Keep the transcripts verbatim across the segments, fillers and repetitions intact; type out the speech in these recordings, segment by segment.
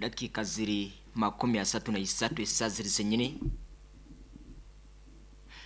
Dakika ziri makumi asatu na isatu esaa ziri zenyini,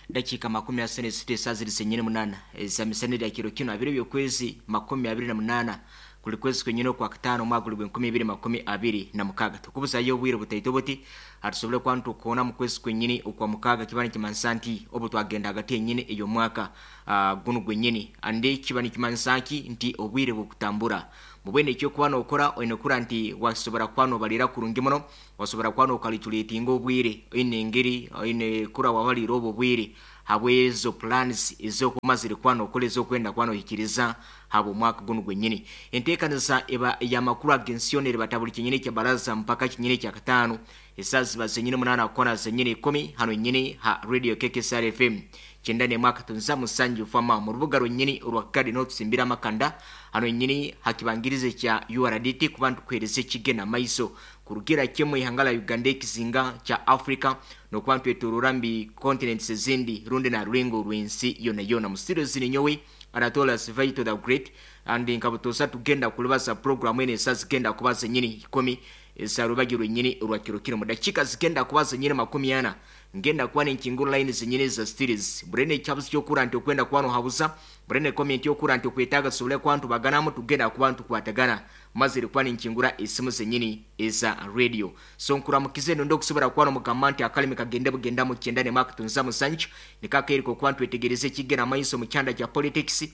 dakika makumi asatu na isatu esaa ziri zenyini munana ezamisana erya kiro kino abiri by'okwezi makumi abiri na munana kuli kwezi kwenyini okwa kataano omwaka guli gw'enkumi ibiri makumi abiri na mukaaga. Tukubuzayo obwire butaito buti atusobole kuba nitukoona mu kwezi kwenyini okwa mukaaga, kiba nikimanisa nti obu twagenda hagati yenyini ey'omwaka uh, gunu gwenyini, andi kiba nikimanisa nki nti obwire bukutambura mubwene. Ekyokuba nokora oine kura nti wasobora kuba nobalira kurungi muno, wasobora kuba nokalituletinga obwire, oine engeri oine kura wabalira obwo obwire habwezo plans ezokumazire kuba nokora ezokwenda kuba nohikiriza haba omwaka gunu gwenyini. Enteekaniza eba yamakuru ag'ensi yona buli kinyini kya baraza mpaka kinyini kya kataano esaa ziba zenyini munaana kukona zenyini ikumi hano nyini ha Radio K K S R F M kyenda n'emwaka tunza musanju fama mu rubuga rwennyini orwa Kagadi n'otusimbira amakanda hano nyini hakibangirize kya U R D T kuba ntukuhereza ekigenda maiso kurugira kimwe ihanga la Uganda, ekizinga kya Africa, nokuba ntwetorora mbi continents ezindi rundi na rulengo rw'ensi yona yona. Mu studio zini nyowe Anatola Sivaito the Great, and nkabutosa tugenda kulibasa program ene esa zigenda kuba zenyini ikumi eza rubagi rwenyini rwa kiro kino. Mu dakiika zigenda kuba zenyini makumi ana ngenda kuba nenkingura line zenyini za series burene ekyabuzi kyokura nti okwenda kuba nohabuza burene comment yokura nti okwetaaga tusobole kuba ntubaganamu, tugenda kuba ntukwatagana mazire kuba nenkingura esimu zenyini eza radio. So nkuramukize nondo okusobola kuba nomugamba nti akalimi kagende bugenda mu kyenda ne mwaka tunza musanju nikakeerika okuba ntwetegereza ekigenda maiso mu kyanda kya politics,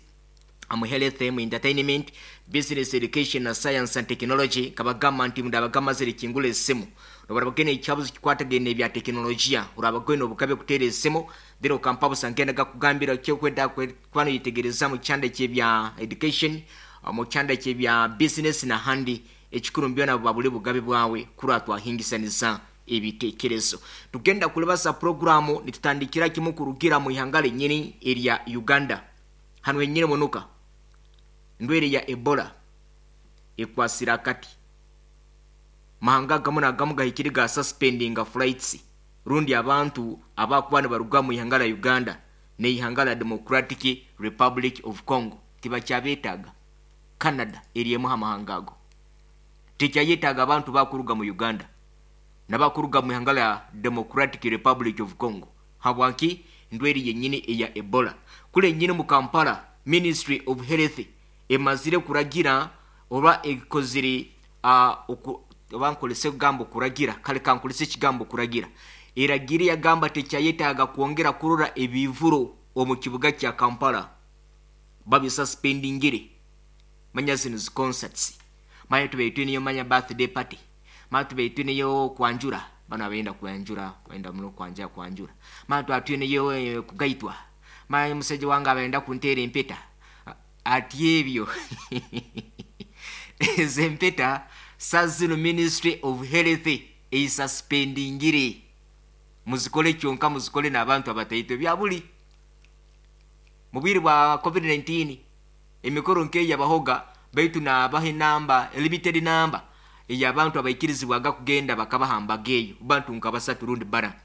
mu health, mu entertainment, business, education na science and technology. Kabagamba nti mundabagamba ziri kingula esimu nobarabagene ekyabuzi kikwatagene ebya tekinologiya, urabagwene obukabe kuteera esimu then okampa busa ngenda gakugambira kyokwenda kuba noyitegereza mu kyanda kyebya education, mu kyanda kyebya business na handi. Ekikuru mbyona buba buli bugabe bwawe kurwa twahingisaniza ebitekerezo. Tugenda kulibasa programu nitutandikira kimu kurugira mu ihanga lenyini erya Uganda hano henyini munuka. Ndwere ya Ebola ekwasira akati mahanga agamu nagamu gahikire ga suspendinga flights rundi abantu abakuba nibaruga mu ihanga la Uganda neihanga la Democratic Republic of Congo tibakyabetaaga. Canada eriemu amahanga ago tekyayetaaga abantu bakuruga mu Uganda nabakuruga mu ihanga la Democratic Republic of Congo. Habwaki? Ndweri yenyini eya Ebola. Kule nyini mu Kampala, Ministry of Health emazire kuragira oba ekozire uh, oku, oba nkolese kugambo kuragira, kale kankolese ekigambo kuragira, eragire yagamba tekyayetaaga kwongera kurora ebivuro omu kibuga kya Kampala, babisuspendingire. Manya zino zi concerts, manya tubaitwe niyo, manya birthday party, manya tubaitwe niyo kwanjura, bano abenda kwanjura benda muno kwanja kwanjura, manya twatwe niyo eh, kugaitwa, manya musajja wange abenda kunteera empeta. Ati ebyo ezo empeta sazino Ministry of Health eisuspendingire, muzikole kyonka muzikole n'abantu abataito byabuli. Mu bwire bwa covid nineteen emikoro nkeyabahoga, baitu nabaha enamba, limited number ey'abantu abaikirizibwaga kugenda bakabahambaga eyo, bantu nka basatu rundi bara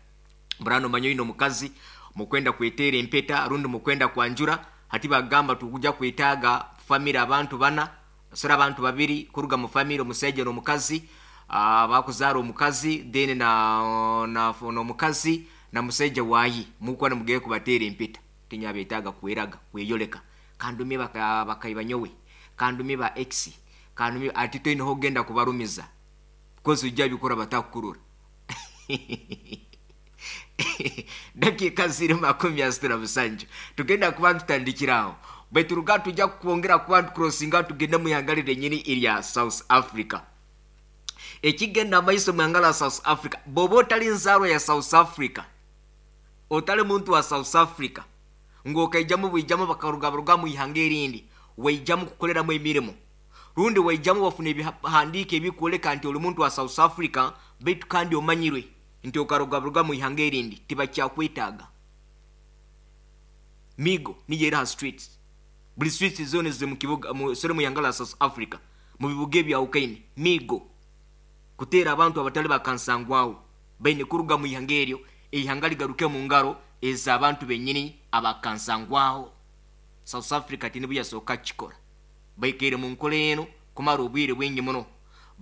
burano. Manya oyina omukazi mukwenda kweteera empeta rundi mukwenda kwanjura, hati bagamba tukuja kwetaaga family abantu bana sora abantu babiri kuruga mu family, omusajja n'omukazi, uh, bakuzaara omukazi then na na n'omukazi na musajja wayi mukuba nimugeye kubateera empeta. Tinyabetaaga kweraga kweyoleka kandumye baka bakaiba nyowe kandumye ba ex kandumye, ati toineho ogenda kubarumiza kozi ujja bikora batakukurura. Dakika ziri makumi asatu na musanju tugenda kuba tutandikiraho, bweturuga tujja kwongera kuba tucrossinga tugende mu ihanga lyenyini erya South Africa. Ekigenda amaiso mu ihanga la South Africa, bw'oba otali nzaarwa ya South Africa, otali muntu wa South Africa, ng'okaijamu bwijamu bakarugabaruga mu ihanga erindi, waijamu kukoleramu emirimu rundi waijamu wafuna ebihandiiko ebikwoleka nti oli muntu wa South Africa, baitu kandi omanyirwe nti okarugabaruga mu ihanga erindi, tibakyakwetaaga. Migo niyo eri ha streets, buli streets zona ziri mu kibuga mu sore mu ihanga la South Africa, mu bibuga ebyawukaine, migo kuteera abantu abatali bakansangwawo baine kuruga mu ihanga eryo, eihanga ligaruke mu ngaro ez'abantu bennyini abakansangwaho. South Africa tinibu yasooka kukikora, baikaire mu nkola eno kumara obwire bwingi muno.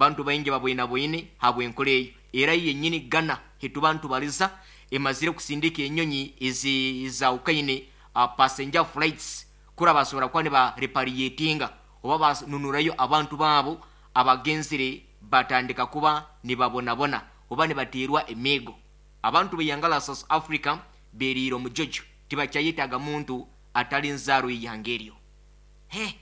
Bantu baingi babwina bwine habw'enkora eyo. Era yennyini Ghana hetuba ntubaliza emazire kusindika enyonyi ezi zawukaine uh, passenger flights kura basobora kuba niba repatriatinga oba banunurayo abantu baabo abagenzire batandika kuba nibabonabona oba nibateerwa emigo. Abantu beyangala South Africa beriire omujojo, tibakyayetaaga muntu atali nzaaro y'ihanga eryo. He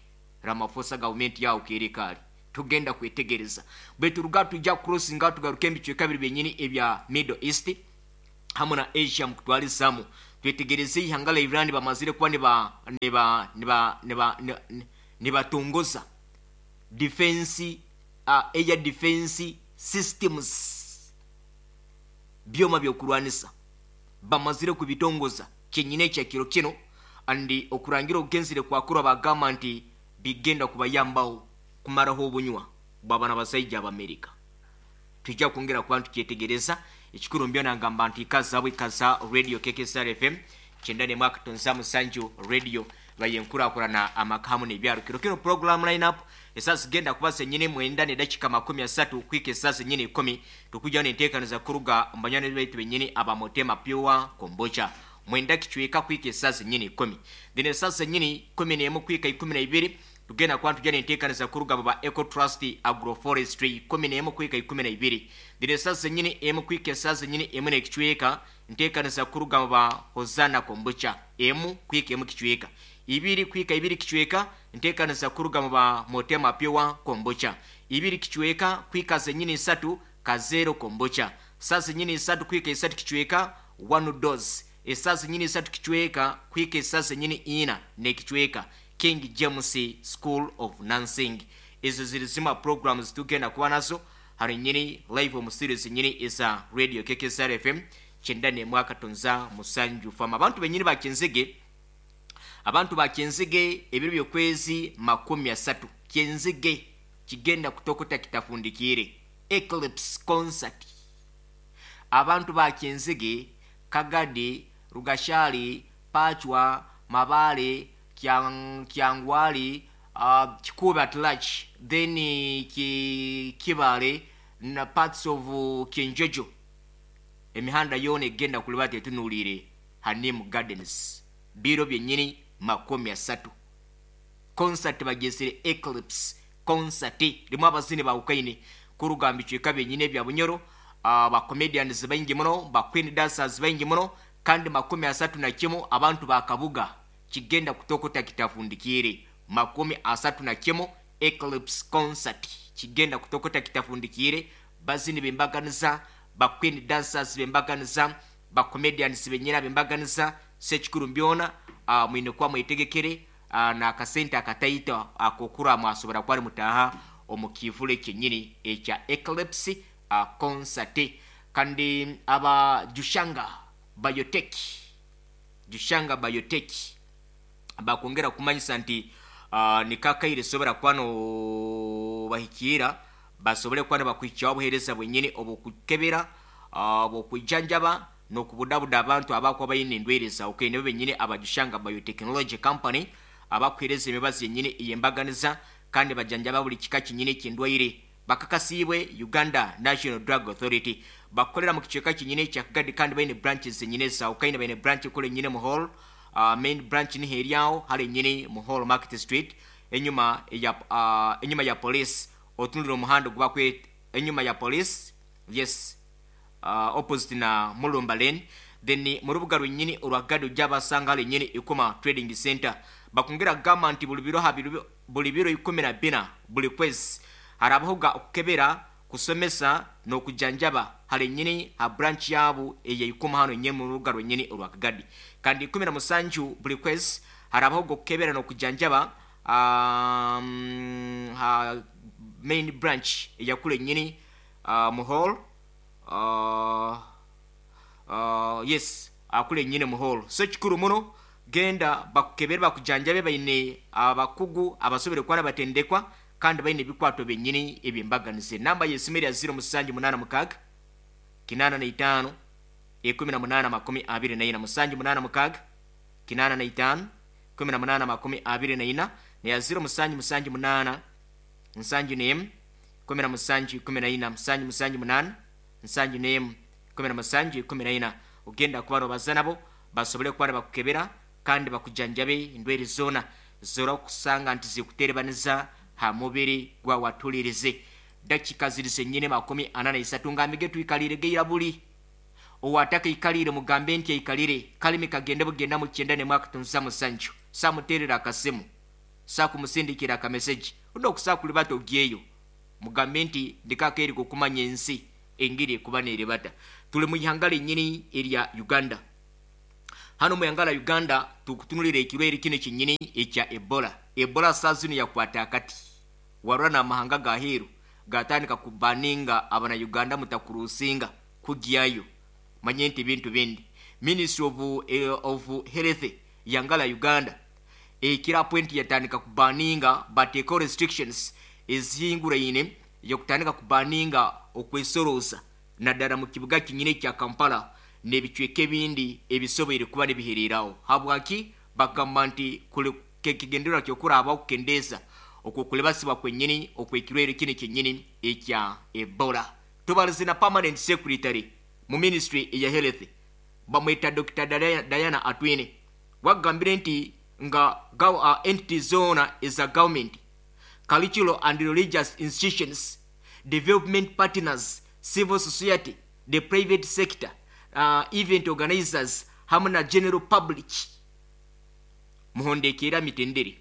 Ramaphosa, gavumenti yawo kerekaali tugenda kwetegereza. Bwe turuga tujja crossinga tugaruka ebicweka biri byenyini ebya Middle East hamu na Asia mukutwalizamu. Twetegereze ihanga la Iran bamazire kuba niba niba niba niba nibatongoza defense uh, air defense systems, byoma byokurwanisa bamazire kubitongoza kyenyine ekyakiro kino. Andi okurangira okugenzire kwakurwa bagamba nti bigenda kubayambaho kumaraho obunywa bwabana basaija ab'Amerika. Tujja kwongera kuba tukyetegereza. Ekikuru mbyona ngamba nti ikaza abo ikaza radio K K S R F M kyenda n'emwe katonza musanju radio bayenkurakurana amaka hamu n'ebyaro. Kiro kino program line up esaawa zigenda kuba zenyine mwenda n'edakika makumi asatu kwika esaawa zenyine ikumi, tukujja n'enteekaniza kuruga mu banywani baitu benyini abamotema pure kombucha mwenda kicweka kwika esaawa zenyine ikumi. Then esaawa zenyine kumi n'emu kwika ikumi na ibiri tugenda kuba tujja n'enteekaniza kuruga mu ba Eco Trust Agroforestry kumi n'emu kwika ikumi na ibiri. Then esaawa zenyine emu kwika esaawa zenyine emu n'ekicweka nteekaniza kuruga mu ba Hosanna kombucha emu kwika emu kicweka ibiri kwika ibiri kicweka nteekaniza kuruga mu ba Motema Pure kombucha ibiri kicweka kwika zenyine isatu kazero kombucha saa zenyine isatu kwika isatu kicweka one dose esaa zenyine isatu kicweka kwika esaa zenyine ina n'ekicweka King James School of Nursing. Ezo ziri zimwe programs tugenda kuba nazo hano nyini live mu series nyini eza radio K K S R F M kyenda n'emwe katonza musanju fama. Abantu benyini bakenzege, abantu bakenzege ebiro by'okwezi makumi asatu kyenzege kigenda kutokota kitafundikire Eclipse concert. Abantu bakenzege Kagadi, Rugashali, Pachwa, Mabale, Kyang, Kyangwali, uh, Kikuba at large, then ki, Kibale na parts of uh, Kinjojo. Emihanda yona egenda kulibata etunuulire Hanim Gardens biro byennyini makumi asatu. Concert bagesere Eclipse concert limu abazini bawukaine kuruga mu bicweka byennyini ebya Bunyoro, uh, ba comedians baingi muno, ba queen dancers baingi muno, kandi makumi asatu na kimu abantu bakabuga kigenda kutokota kitafundikire makumi asatu na kimu Eclipse concert kigenda kutokota kitafundikire. Bazini bembaganiza, ba queen dancers bembaganiza, ba comedians benyina bembaganiza. Sekikuru mbyona uh, mwine kwa mwetegekere uh, na akasente akataito akokura mwasobora kwali mutaha omukivule kyenyini ekya Eclipse uh, concert. Kandi aba Jushanga Biotech, Jushanga Biotech bakwongera kumanyisa nti uh, nikakaire sobora kwano bahikira basobole kwana bakwichawo obuheereza bwenyini obukukebera uh, obukwijanjaba n'okubudabuda abantu abakwa bayina endwere zawukaine. Nibo benyini abajushanga Biotechnology Company abakuheereza emibazi yennyini ey'embaganiza kandi bajanjaba buli kika kinnyini eky'endwaire. Bakakasiibwe Uganda National Drug Authority. Bakolera mu kicweka kinnyini ekya Kagadi kandi bayina branches zennyini zawukaine. Bayina branch ekola ennyini mu hall uh, main branch niho eryawo hali ennyini mu hall Market Street enyuma ya uh, enyuma ya police otunulira omuhanda ogubakwe enyuma ya police, yes, uh, opposite na Mulumba Lane. Then mu rubuga lwennyini olwa Gado ojja hali ennyini Ikoma Trading Center. Bakongera kugamba nti buli biro buli biro ikumi na bina buli kwezi harabahoga okukebera, kusomesa n'okujanjaba hali ennyini ha branch yabo eya Ikoma hano ennyini mu rubuga lwennyini olwa Kagadi. Kandi ikumi na musanju buli kwezi harabahoga okukebera n'okujanjaba um, ha main branch eyakula ennyini uh, mu hall uh, uh, yes akula ennyini mu hall. So kikuru muno genda bakukebere bakujanjabe, bayine abakugu abasobere kwana batendekwa kandi bayine ebikwato byennyini ebyembaganize. Namba y'essimu ya zero musanju munaana mukaaga kinaana na itaano ikumi na munaana makumi abiri na ina, musanju munaana mukaaga kinaana na itaano ikumi na munaana makumi abiri na ina, neya zero musanju musanju munaana nsanju n'emu kumi na musanju ikumi na ina musanju musanju munana nsanju n'emu kumi na musanju ikumi na ina. Ogenda kuba nobaza nabo basobole kuba nibakukebera kandi bakujanjabe endwaire zoona zora okusanga nti zikuterebaniza ha mubiri gwa watulirize. Dakika ziri zenyine makumi ana na isatu ngambige tuikalire geira buli owataka ikalire mugambe nti aikalire kalimi kagende bugenda mu kyenda ne mwaka tunza musanju samuterera akasimu sakumusindikira akameseji undo kusakulibata ogyeyo mugambe nti ndikakeri kukumanya ensi engiri ekuba neerebata. Tuli mu ihanga lennyini erya Uganda. Hano mu ihanga la Uganda tukutunulira ekirwaire kino kinnyini ekya Ebola. Ebola saa zino yakwata akati warura n'amahanga gaheeru gatandika kubaninga abana Uganda mutakurusinga kugyayo manye nti bintu bindi. Ministry of, eh, of Health yangala Uganda ekira point yatandika kubaninga bateeko restrictions ezihinguraine yokutandika kubaninga okwesoroza naddala mu kibuga kinyine kya Kampala n'ebicweka ebindi ebisoboire kuba nibihereraho. Habwaki bagamba nti kekigendererwa ky'okuraba okukendeeza okwo kulebasibwa kwennyini okwekirwaire kino kyennyini ekya Ebola. Tubalize na permanent secretary mu ministry eya health bamweta Doctor Diana Atwine wagambire nti nga uh, entities zona eza government, cultural and religious institutions, development partners, civil society, the private sector, uh, event organizers hamwe na general public muhondekera mitendere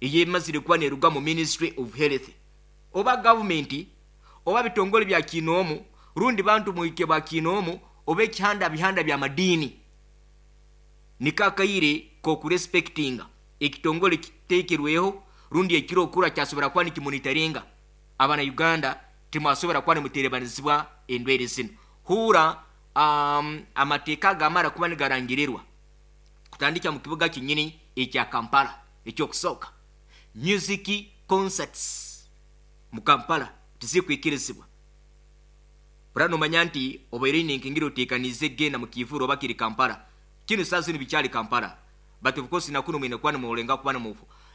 eyemazire kuba neruga mu ministry of health oba government oba bitongole bya kinoomu rundi bantu muike ba kinoomu oba ekihanda bihanda bya madini nikakaire kokurespectinga ekitongole kitekerweho rundi ekiro okura kyasobora kuba nikimonitoringa abana Uganda timwasobora kuba nimuterebanizibwa endwaire zino. Hura um, amateeka gamara kuba nigarangirirwa kutandika mu kibuga kinyini ekya Kampala. Ekyokusooka, music concerts mu Kampala tizikwikirizibwa. Burano manya nti obaire ninkingira oteekanize genda mu kivuro oba kiri Kampala kino saa zino bikyali Kampala, but of course nakuno mwine kuba nimulenga kuba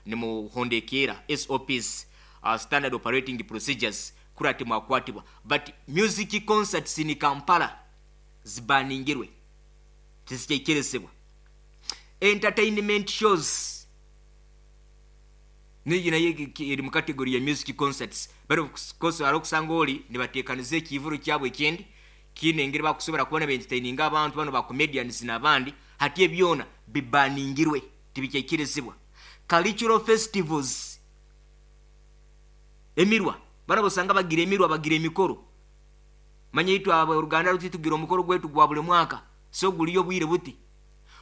nimuhondekera S O Ps, uh, standard operating procedures kurati mwakwatibwa, but music concerts ni Kampala zibaningirwe tizikyekerezebwa. Entertainment shows niyo nayo eri mu category ya music concerts, but of course arokusanga oli nibateekaniza ekivuro kyabwe ekindi kine engeri bakusobora kubona entertaininga abantu bano ba comedians n'abandi hati ebyona bibaningirwe tibikyekerezebwa. Cultural festivals emirwa bana bosanga bagira emirwa bagira emikoro manye itwe aba Uganda ruti tugira omukoro gwetu gwa buli mwaka so guliyo bwire buti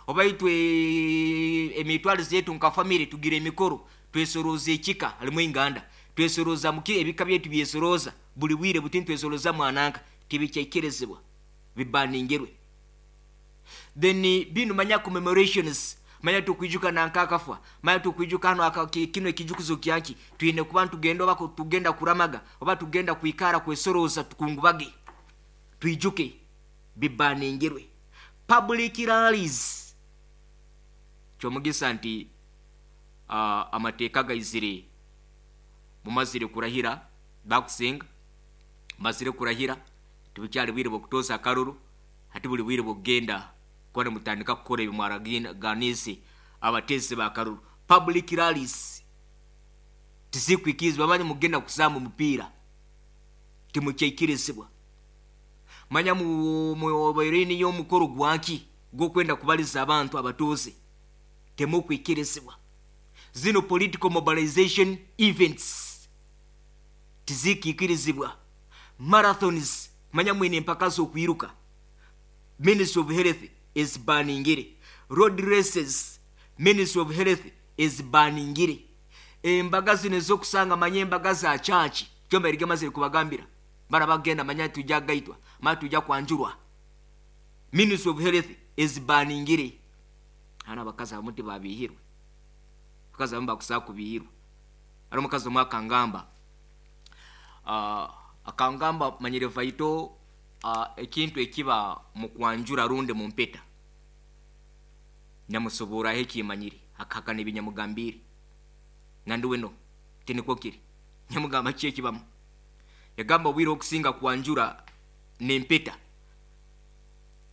oba itwe emitwalize yetu nka family tugira emikoro twesoroza ekika halimu inganda twesoroza muki ebika byetu byesoroza buli bwire buti twesoroza mwananka tibikyekerezebwa bibaningirwe. Then binu manya commemorations manya tukwijuka nanka akafwa manya tukwijuka hano kino ekijukuzo kyanki twine kuba tugenda oba tugenda kuramaga oba tugenda kwikara kwesoroza tukungubage twijuke bibaningirwe. Public rallies kyomugisa nti uh, amateeka gaizire mumazire kurahira bakusinga mazire kurahira tibukyali bwire bwokutosa akaruru hati buli bwire bwokugenda kuba mutandika kukora ebimwaraganise abatezi bakaruru. Public rallies tizikwikizibwa manya mugenda kusamba omupiira timukyaikirizibwa manya mubaireni y'omukoro gwanki gwokwenda kubaliza abantu abatuuze temukwikirizibwa. Zino political mobilization events tizikikirizibwa. Marathons manya mwine empaka z'okwiruka Ministry of Health is baningire. Road races Ministry of Health is baningire. Embaga zino ez'okusanga manya embaga za church kyomba erigamazire kubagambira bara bagenda manya tujja gaitwa manya tujja kwanjurwa Ministry of Health is baningire. Hana abakazi abamu tibabihirwe, abakazi abamu bakusaba kubihirwa. Ari omukazi omwe akangamba uh, akangamba manyire vaito uh, ekintu ekiba mu kwanjura runde mu mpeta nyamusobora ekimanyire akahakana ebinyamugambire nandi weno tinikwo kiri Nyamugamba ki ekibamu? Yagamba obwire okusinga kwanjura n'empeta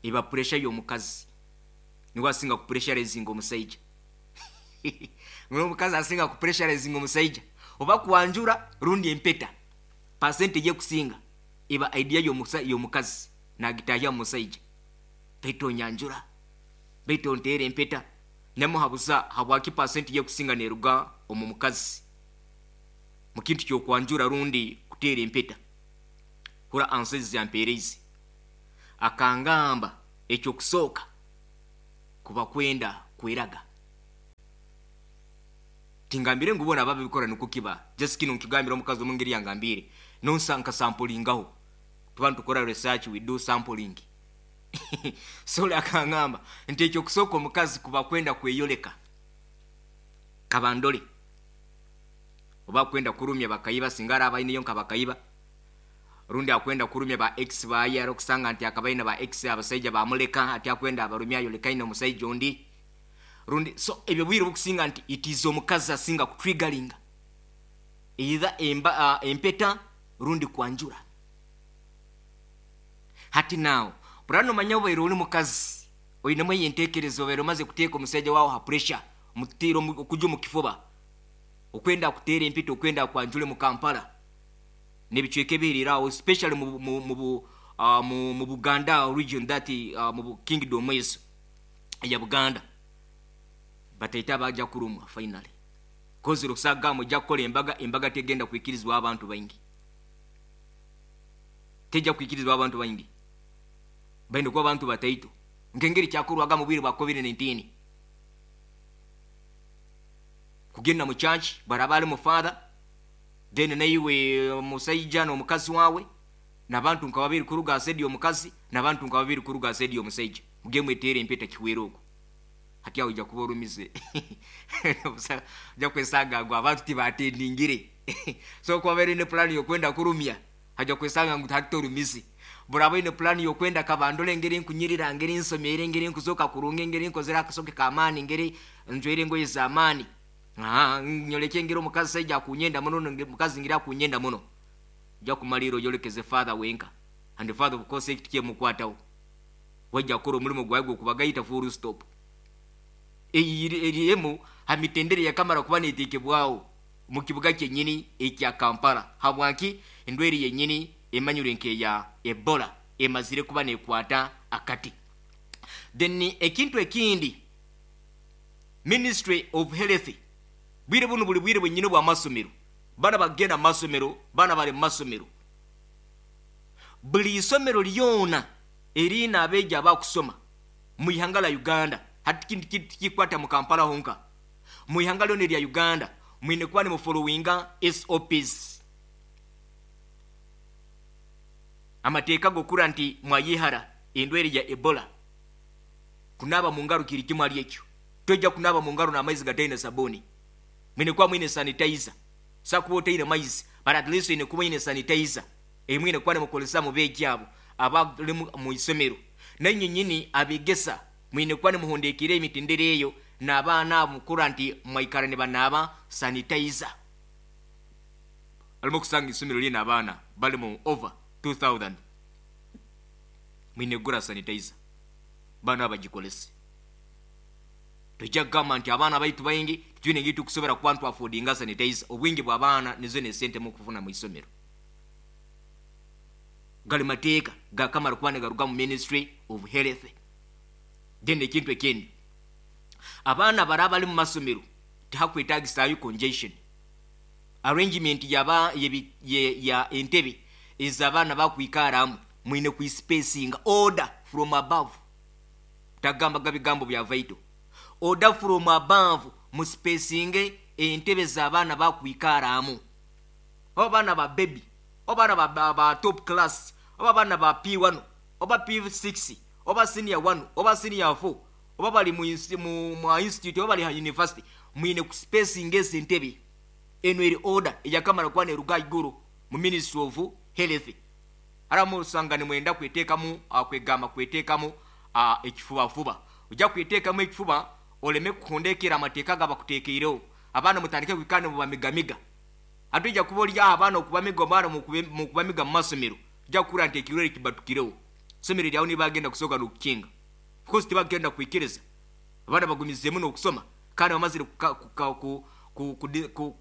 eba pressure y'omukazi, niwe asinga kupressurizinga omusaija. Omukazi asinga kupressurizinga omusaija oba kwanjura rundi empeta, percentage ekusinga eba idea y'omukazi nagitahya mu musaija, baitu onyanjura, baitu onteera empeta. Nyamuhabuza habwaki percentage ekusinga neruga omu mukazi mu kintu ky'okwanjura rundi kuteera empeta. Hura answers yampeereize, akangamba ekyokusooka kuba kwenda kweraga. Tingambire ngu bona babikora niko kiba, just kino nkigambira omukazi omu ngeri yangambire nonsa nkasampulingaho, tuba nitukora research, we do sampling. So akangamba nti ekyokusooka omukazi kuba kwenda kweyoleka kabandole, oba kwenda kurumya bakayiba singa araba aineyo nka bakayiba, rundi akwenda kurumya ba ex baye, ari okusanga nti akabaina ba ex abasaija bamuleka, ati akwenda abarumya ayolekaine omusaija ondi rundi. So ebyo bwire bukusinga nti it is omukazi asinga kutriggeringa either emba, uh, empeta rundi kwanjura. Hati naawe burano omanya obaire ori mukazi oinemu enteekerezo, obaire omaze kuteeka omusaija waawe ha pressure, omutiire okuja omu kifuba, okwenda kuteera empeta, okwenda kwanjure mu Kampala n'ebicweka ebiheriire aho, especially mu, mu, mu, uh, mu, mu Buganda region, that uh, mu kingdom ezo eya Buganda, bataita bajja kurumwa finally kozi rusaga mujja kukola embaga, embaga tegenda kwikirizibwa abantu baingi, tejja kwikirizibwa abantu baingi, baine kuba abantu bataito nk'engeri kyakorwaga mu bwire bwa covid nineteen. Kugenda mu church baraba ali mu father, then naiwe omusaija n'omukazi wawe n'abantu nka babiri kuruga asedi omukazi n'abantu nka babiri kuruga asedi omusaija, muge mwetere empeta kiwere okwo. Hati aho ojja kuba orumize ojja kwesanga ngu abantu tibatendingire. So kuba baine plan y'okwenda kurumya, hajja kwesanga ngu hati torumize. Buraba oine plan y'okwenda kabandole engeri nkunyirira, engeri nsomere, engeri nkuzoka kurunga, engeri nkozere akasoke k'amaani, engeri njwaire engoye z'amaani, nyoleke engeri omukazi saija akunyenda muno, omukazi ngeri akunyenda muno, ojja kumalira oyolekeze father wenka, and father of course ekiti kyemukwataho wajja kukora omulimu gwawe gw'okubagaita full stop. Eri emu ha mitendere yakamara kuba neetekebwaho mu kibuga kyenyini ekya Kampala. Habwaki endwaire yenyini emanyirwe nk'eya Ebola emazire kuba nekwata akati. Then ekintu ekindi, Ministry of Health, bwire buno buli bwire bwenyini bw'amasomero, bana bagenda mu masomero, bana bali mu masomero, buli isomero lyona erina abeegi abakusoma mu ihanga la Uganda, hati kikwata mu Kampala honka, mu ihanga lyona erya Uganda mwine kuba nimufollowinga S O Ps, amateeka gokura nti mwayihara endwaire ya Ebola. Kunaba mu ngaro kiri kimwe ali ekyo, tojja kunaba mu ngaro n'amaizi gataine sabuni, mwine kuba mwine sanitizer, sakuba otaine maizi but at least oine kuba oine sanitizer emwine kuba nimukozesa mu beegi abo abali mu isomero. Nainye nyini abegesa mwine kuba nimuhondekera emitendera eyo n'abaana abo mukura nti mwaikara nibanaaba sanitizer. Alimu kusanga isomero lina abaana bali mu over two thousand, mwine kugura sanitizer baana abagikolese. Tojja kugamba nti abaana baitu baingi twine engeri tukusobora kuba ntwafodinga sanitizer, obwingi bw'abaana nizo n'esente mukufuna mu isomero. Gali mateeka gakamara kuba nigaruga mu Ministry of Health. Then ekintu ekindi, abaana baraba bali mu masomero tihakwetagisaayo congestion arrangement yaba ye, ye, ya entebe ez'abaana bakwikaramu, mwine kuispacinga order from above. Tagamba gabigambo bya vital, order from above, muspacinge entebe z'abaana bakwikaramu, oba baana ba baby, oba baana ba, ba, ba top class, oba baana ba P one, oba P six, oba senior one, oba senior four, oba bali mu, mu, mu institute, oba bali ha university, mwine kuspacinga ezi entebe. Eno eri order eyakamara kuba neruga iguru mu Ministry of Health. Ara musanga nimwenda kweteekamu, kwegamba kweteekamu ekifubafuba, ojja kweteekamu ekifuba oleme kuhondekera amateeka gabakuteekeireho, abaana mutandike kwikana mubamigamiga. Ate ojja kuba oli aho abaana okubamiga omwana mu kubamiga mu masomero, ojja kuhurra nti ekirwaire kibatukireho. Isomero lyawe nibagenda kusooka n'okukinga, because tibagenda kwikiriza abaana bagumizeemu n'okusoma kandi bamazire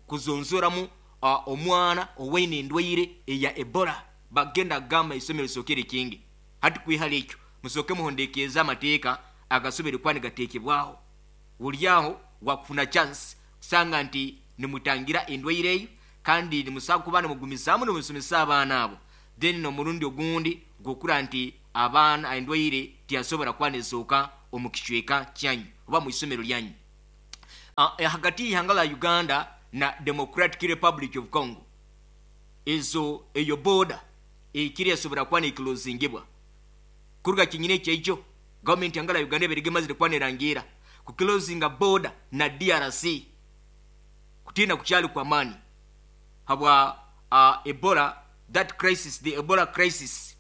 kuzonzoramu omwana owaine endwaire eya Ebola. Bagenda kugamba isomero lisooke likinge. Hati kwihara ekyo musooke muhondekeeze amateeka agasobere kuba nigateekebwaho. Buli aho wakufuna chance kusanga nti nimutangira endwaire eyo, kandi nimusobola kuba nimugumizaamu nimusomesa abaana abo. Then n'omurundi ogundi gwokura nti abaana endwaire tiyasobora kuba nezooka omu kicweka kyanyu oba mu isomero lyanyu. Uh, hagati y'ihanga la Uganda na Democratic Republic of Congo, ezo eyo border ekiri esobora kuba nekilozingibwa kuruga kinyine ekyejo. Gavumenti yangala Uganda eberige mazire kuba nerangira kukilozinga border na D R C kutina kukyali kwa mani habwa uh, Ebola, that crisis, the Ebola crisis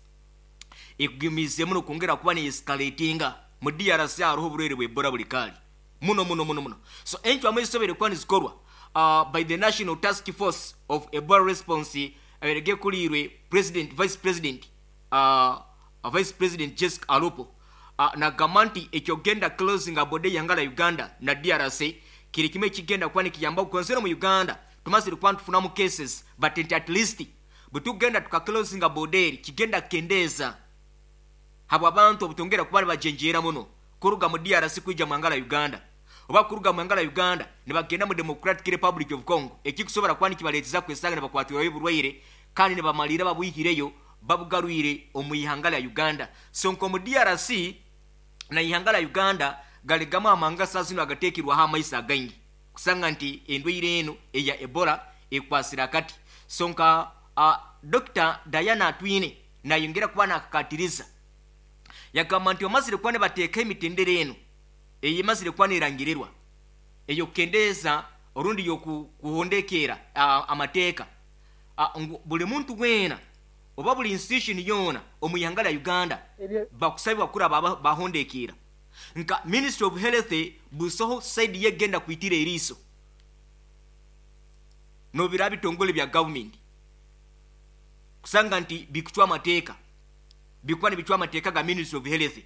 ekugumize muno kwongera kuba ne escalatinga mu D R C. Hariho oburwaire bwa Ebola buli kali muno muno muno muno. So enkyo amaisobere kuba nizikorwa uh, by the National Task Force of Ebola Response aberege kulirwe President, Vice President, uh, Vice President Jessica Alupo uh, nagamba nti ekyogenda closing abode yangala Uganda na D R C kiri kimwe kigenda kuba nikiyamba kukonzera mu Uganda. Tumazire kuba tufunamu cases, but at least bwe tugenda tukaclosinga border kigenda kendeza habwa abantu obutongera kuba bajenjera muno kuruga mu D R C kwija mu ngala Uganda oba kuruga mu ngala Uganda ne bagenda mu Democratic Republic of Congo. Ekikusobora kuba nikibaleteza kwesanga ne bakwatirayo oburwaire kandi ne bamalira babwihireyo babugarwire omu ihanga lya Uganda. So nko mu D R C na ihanga lya Uganda galigamu amanga sazino agatekirwaho amaiso againgi kusanga nti endwaire eno eya Ebola ekwasira kati. So nka uh, Doctor Diana Atwine nayongera kuba nakakatiriza yagamba nti omazire kuba nibateeka emitendera eno eyemazire kuba nerangirirwa ey'okukendeeza orundi y'okuhondekeera uh, amateeka uh, ngu buli muntu weena oba buli institution yoona omu ihanga lya Uganda bakusabibwa kuraba bahondekeera. Nka Ministry of Health busoho side yegenda kuitira eriiso nobira bitongole bya government kusanga nti bikuchwa amateeka bikuwa nibichwa amateeka ga Ministry of Health.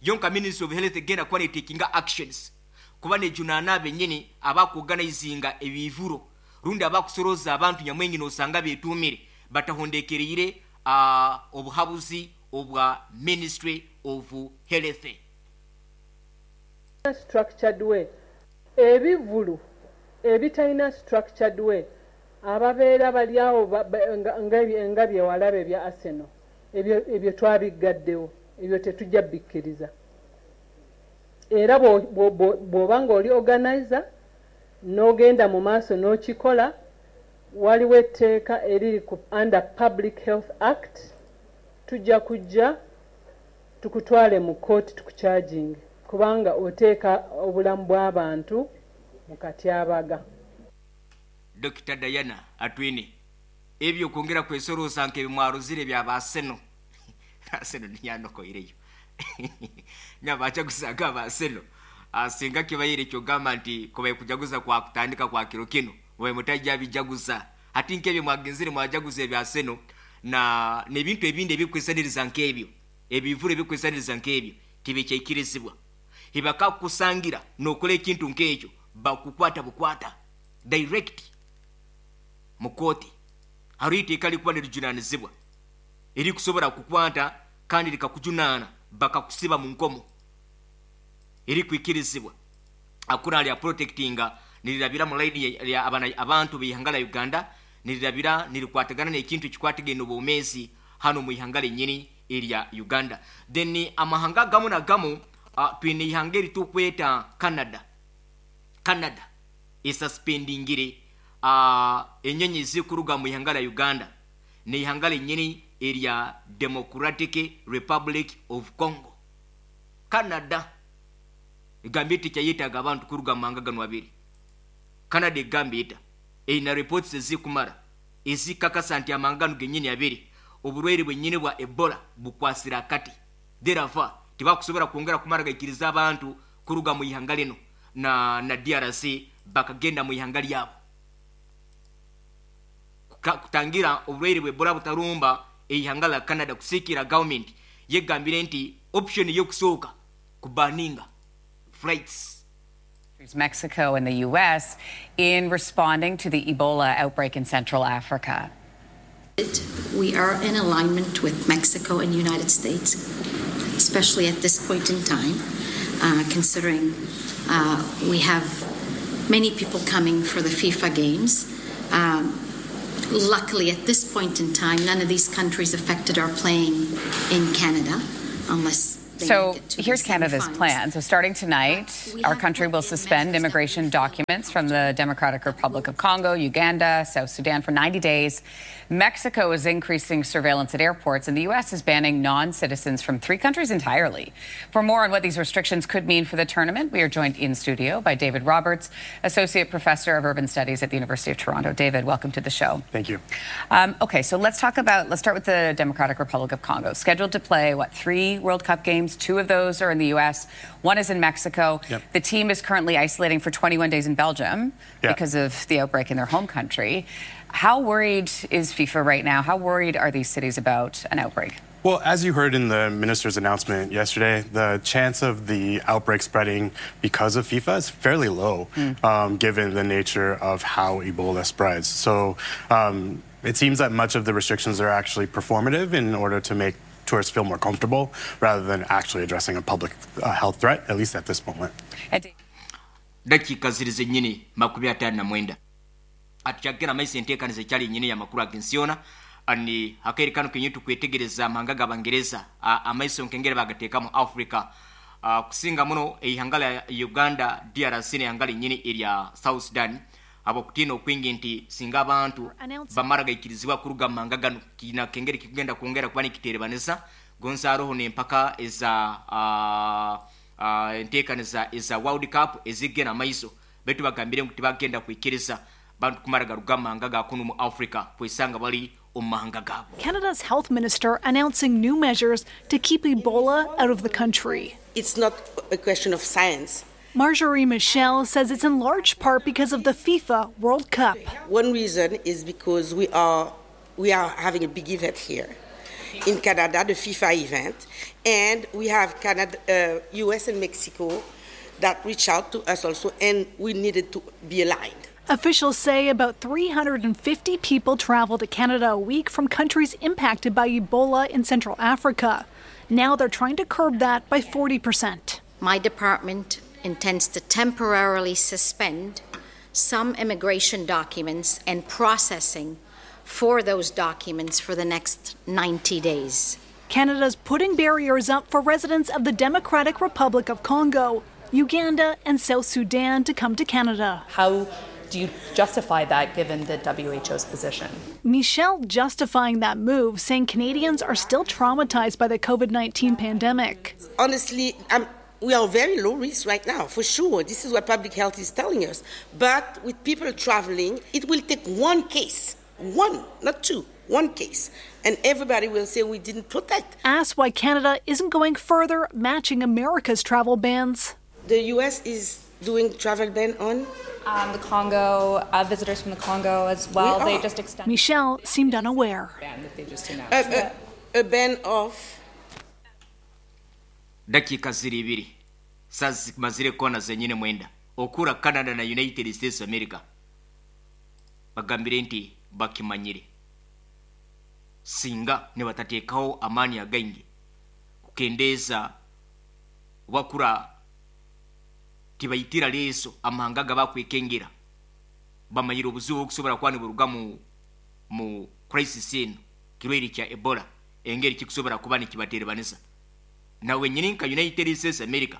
Yonka Ministry of Health genda kuba netekinga actions kuba nejunana benyini abakuorganizinga ebivuro rundi abakusoroza abantu nyamwengi nosanga betumire batahondekereire uh, obuhabuzi obwa Ministry of Health. Structured way ebivulu ebitalina structured way ababeera bali awo nga bye walaba ebya Arsenal ebyo ebyo twabiggaddewo, ebyo tetujja bikkiriza. Era bw'oba ng'oli organizer n'ogenda mu maaso n'okikola, waliwo etteeka eriri ku under Public Health Act, tujja kujja tukutwale mu kkooti tukucharginge kubanga oteeka obulamu bw'abantu mu katyabaga. Doctor Diana Atwine ebyo kwongera kwesorosa nke bimwaruzire bya Arsenal. Arsenal niyandokoireyo nyabacha kusaga ba Arsenal asinga kibayire kyogamba nti kubaye kujaguza kwa kutandika kwa kiro kino mwe mutajja bijaguza hati nkebyo mwagenzire mwajaguza ebya Arsenal na nebintu ebindi ebikwesaniriza nkebyo ebivure ebikwesaniriza nkebyo tibikyakirizibwa. Hibaka kusangira nokole ekintu nkekyo bakukwata bukwata direct mukoti harite ikali kuba nerijunanizibwa eri kusobora kukwata kandi likakujunana bakakusiba mu nkomo eri kwikirizibwa. Akura ali protectinga nilirabira mu line ya abana abantu bihangala Uganda nilirabira nilikwatagana n'ekintu kikwatigene obumezi hano mu ihangala nyini area Uganda. Then amahanga gamu na gamu uh, twine ihangeri tukweta Canada. Canada isuspendingire uh, enyenyi zikuruga mu ihangala Uganda ne ihangala nyini area Democratic Republic of Congo. Canada igambiti kyayitaga abantu kuruga manga gano abiri. Canada igambita ina reports zikumara ezikakasa nti amangano genyini abiri oburwaire bwenyini bwa Ebola bukwasira kati. Therefore tibakusobora kwongera kumara gaikiriza abantu kuruga mu ihanga lino na na D R C bakagenda mu ihanga lyabo. Kutangira obulwaire bwa Ebola butarumba eihanga la Canada, kusikira government yegambire nti option y'okusooka kubaninga flights. Mexico and the U S in responding to the Ebola outbreak in Central Africa. We are in alignment with Mexico and the United States, especially at this point in time, uh, considering uh, we have many people coming for the FIFA games. Um, luckily, at this point in time, none of these countries affected are playing in Canada, unless they So make it to the here's Canada's semifinals. plan. So starting tonight, We our have country put will in suspend measures that immigration we feel documents from the Democratic Republic of Congo, Uganda, South Sudan for ninety days. Mexico is increasing surveillance at airports, and the U S is banning non-citizens from three countries entirely. For more on what these restrictions could mean for the tournament, we are joined in studio by David Roberts, Associate Professor of Urban Studies at the University of Toronto. David, welcome to the show. Thank you. Um, okay, so let's talk about, let's start with the Democratic Republic of Congo. Scheduled to play, what, three World Cup games? Two of those are in the U S, one is in Mexico. Yep. The team is currently isolating for twenty-one days in Belgium Yeah. because of the outbreak in their home country. How worried is FIFA right now? How worried are these cities about an outbreak? Well, as you heard in the minister's announcement yesterday, the chance of the outbreak spreading because of FIFA is fairly low, Mm. um, given the nature of how Ebola spreads. So, um, it seems that much of the restrictions are actually performative in order to make tourists feel more comfortable rather than actually addressing a public, uh, health threat, at least at this moment. And Dakika ziri zennyini makumi ataano na mwenda. Atukyagenda amaiso enteekaniza ekyali nnyini y'amakulu ag'ensi ani akaire kano kenyini tukwetegereza amahanga g'Abangereza, a-, amaiso nkengere bagateeka mu Africa. A, kusinga muno eihanga lya Uganda, D R C n'eihanga linnyini erya South Sudan, abokutiina okwingi nti singa abantu bamara gaikirizibwa kuruga mu mahanga gano, kina kengere kikugenda kwongera kuba nikiterebanisa gonza haroho n'empaka eza, a, a, enteekaniza eza World Cup ezigenda amaiso, baitu bagambire ngu tibagenda kwikiriza bantu kumara garuga mu mahanga ga kunu mu Africa kwesanga bali omu mahanga gaabo. Canada's health minister announcing new measures to keep Ebola out of the country. It's not a question of science. Marjorie Michel says it's in large part because of the FIFA World Cup. One reason is because we are, we are having a big event here in Canada, the FIFA event, and we have Canada, uh, U S and Mexico that reached out to us also, and we needed to be aligned. Officials say about three hundred and fifty people travel to Canada a week from countries impacted by Ebola in Central Africa. Now they're trying to curb that by forty percent. My department intends to temporarily suspend some immigration documents and processing for those documents for the next ninety days. Canada's putting barriers up for residents of the Democratic Republic of Congo, Uganda, and South Sudan to come to Canada. How do you justify that given the W H O's position? Michel justifying that move, saying Canadians are still traumatized by the COVID nineteen pandemic. Honestly, I'm, we are very low risk right now, for sure. This is what public health is telling us. But with people traveling, it will take one case, one, not two, one case. And everybody will say we didn't protect. Asked why Canada isn't going further, matching America's travel bans. The U S is doing travel ban on? Um, the Congo, uh, visitors from the Congo as well. We They are. just extended. Michel seemed unaware. Ban that they just announced. A, a, a ban of? Dakika ziri ibiri. Sasa mazire kona zenyine mwenda. Okura Canada na United States of America. Bagambire nti bakimanyire. Singa ne batateekawo amaanyi againgi kukendeeza wakura tibayitira leeso amahanga gabakwekengera bamanyire obuzibu obukusobola kuba niburuga mu, mu crisis eno kirwaire kya Ebola engeri kikusobola kuba nikibaterebanisa. Nawe nyini nka United States America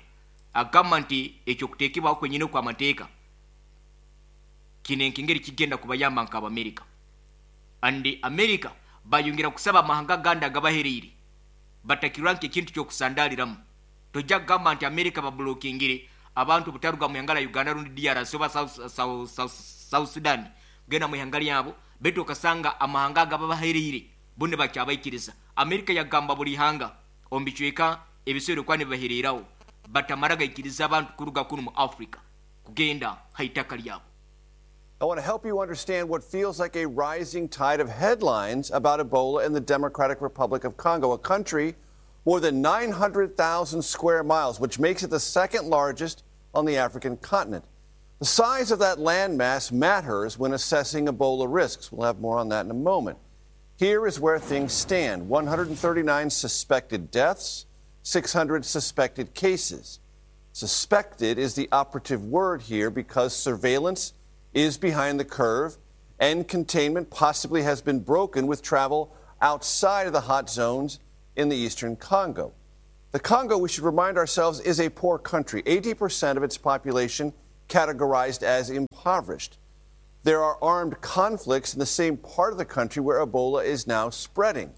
agamba nti ekyo kuteekebwaho kwenyini okw'amateeka kino enkengeri kigenda kubayamba nka Abamerika. And America bayongera kusaba amahanga agandi agabahereire batakirwa nk'ekintu ky'okusandaaliramu. Tojja kugamba nti America bablokingire abantu butaruga mu ihanga lya Uganda rundi D R C oba South, South, South, South Sudan kugenda mu ihanga lyabo, baitu okasanga amahanga agababahereire bo nibakyabaikiriza. America yagamba buli ihanga omu bicweka ebiseera okuba nibibahereiraho batamara gaikiriza abantu kuruga kunu mu Africa kugenda ha itaka lyabo. I want to help you understand what feels like a rising tide of headlines about Ebola in the Democratic Republic of Congo, a country more than nine hundred thousand square miles, which makes it the second largest on the African continent. The size of that landmass matters when assessing Ebola risks. We'll have more on that in a moment. Here is where things stand. one hundred thirty-nine suspected deaths, six hundred suspected cases. Suspected is the operative word here because surveillance is behind the curve and containment possibly has been broken with travel outside of the hot zones in the eastern Congo. The Congo, we should remind ourselves, is a poor country. eighty percent of its population categorized as impoverished. There are armed conflicts in the same part of the country where Ebola is now spreading.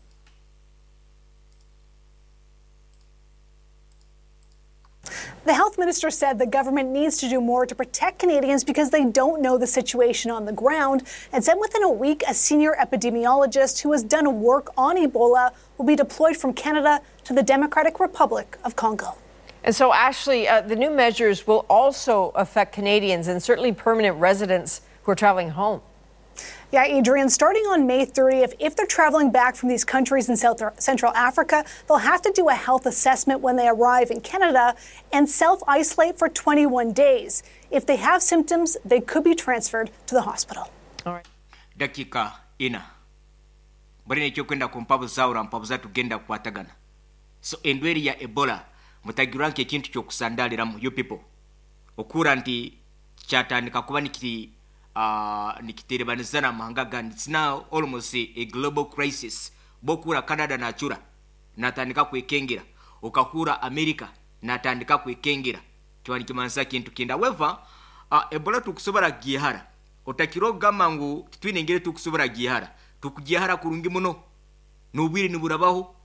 The health minister said the government needs to do more to protect Canadians because they don't know the situation on the ground, and said within a week, a senior epidemiologist who has done work on Ebola will be deployed from Canada to the Democratic Republic of Congo. And so, Ashley, uh, the new measures will also affect Canadians and certainly permanent residents who are traveling home. Yeah, Adrian, starting on May thirtieth, if they're traveling back from these countries in South Central Africa, they'll have to do a health assessment when they arrive in Canada and self-isolate for twenty-one days. If they have symptoms, they could be transferred to the hospital. All right. Dakika ina. Bari ne kyokwenda kumpabuza urampabuza tugenda kukwatagana. So endweri ya Ebola mutagiranke ekintu kyokusandaliramu you people. Okura nti kyatandika kuba nikiri Uh, nikiterebanizana amahanga gandi. It's now almost a, a global crisis. Bokura Canada nachura natandika kwekengera, okakura America natandika kwekengera, kiwani kimansa kintu kinda. However, uh, Ebola tukusobora gihara otakiro mangu tutwinengere tukusobora gihara tukugihara kurungi muno nubwire niburabaho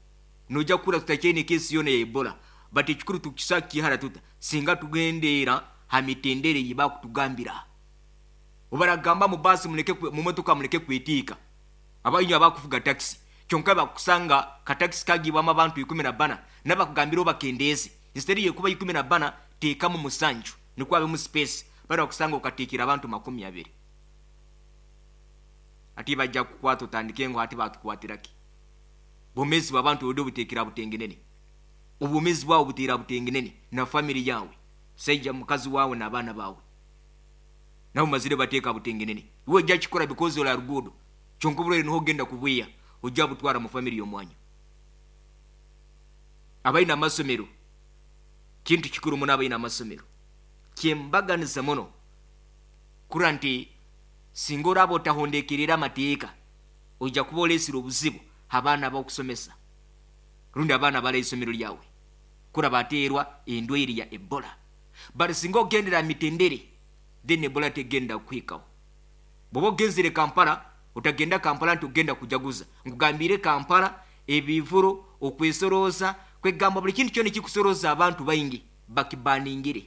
noja kura tutakene kesi yona ya Ebola, but ekikuru tukisa gihara tuta singa tugendera hamitendere yiba kutugambira. Obaragamba mu basi muleke mu motoka muleke kwetika. Abayinyo abakufuga taxi. Kyonka bakusanga ka taxi kagibwa abantu ikumi na bana nabakugambira obakendeze. Instead yekuba ikumi na bana teka mu musanju nikwa abe mu space bari bakusanga okatikira abantu makumi abiri. Ati bajja kukwata otandike ngo ati batukwatiraki. Bomezi bw'abantu odo butekera butengenene. Obumezi bwawo butera butengenene na family yawe. Seija mukazi wawe na abaana bawe. Nawo mazire bateka butengenene. Iwe ojja kikola because ola rugudo. Kyonka niho ogenda kubwiya ojja butwara mu family y'omwanyu. Abalina amasomero kintu kikuru muno abalina amasomero. Kyembaganiza muno kura nti singa oraba otahondekerera amateeka ojja kuba oleesire obuzibu abaana b'okusomesa rundi abaana bala isomero lyawe kura bateerwa endwaire ya Ebola. But singa ogendera mitendere then Ebola tegenda kuhikaho. Bwoba ogenzere Kampala otagenda Kampala nti ogenda kujaguza. Nkugambire Kampala ebivuro okwesoroza kwegamba buli kintu kyona ekikusoroza abantu baingi bakibaningire.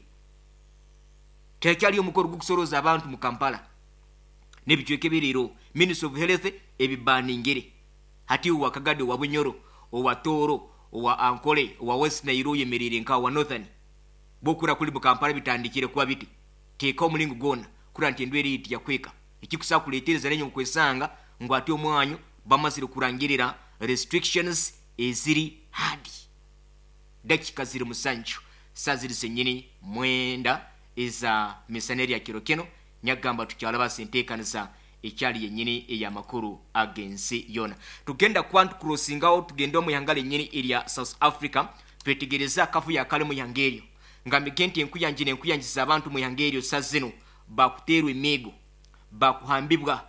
Tekyali omukoro gukusoroza abantu mu Kampala n'ebicweka ebiriro Ministry of Health ebibaningire. Hati owa Kagadi, owa Bunyoro, owa Toro, owa Ankole, owa West Nile oyemerere nka owa Northern. Bokura kuli mu Kampala bitandikire kuba biti. Teeka omulingo gwona kura nti endwere iti yakweka. Ekikusa kuleetereza nenyo nkwesanga ngu ati omwanyu bamazire kurangirira restrictions eziri hadi. Dakika ziri musanju saa ziri zenyini mwenda eza misaneri ya kiro kino nyagamba tukyalaba senteekanisa ekyali yennyini ey'amakulu ag'ensi yona. Tugenda kuba tukurosingawo tugende omu ihanga lennyini erya South Africa twetegereze akavuyo akali mu ihanga eryo. Ngambike nti enkuyanji n'enkuyanjiza abantu mu ihanga eryo saa zino bakuteerwa emiigo, bakuhambibwa,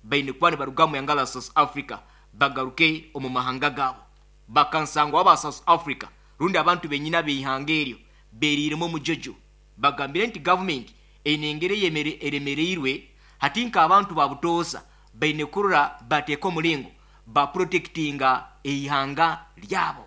baine kuba nibaruga mu ihanga la South Africa bagaruke omu mahanga gaabo. Bakansangwa aba South Africa rundi abantu bennyini ab'eihanga eryo beeriiremu omujojo. Bagambire nti gavumenti eine engeri eremereirwe hati nk'abantu ba butoosa baine kurora bateeka omulingo baprotectinga eihanga lyabo.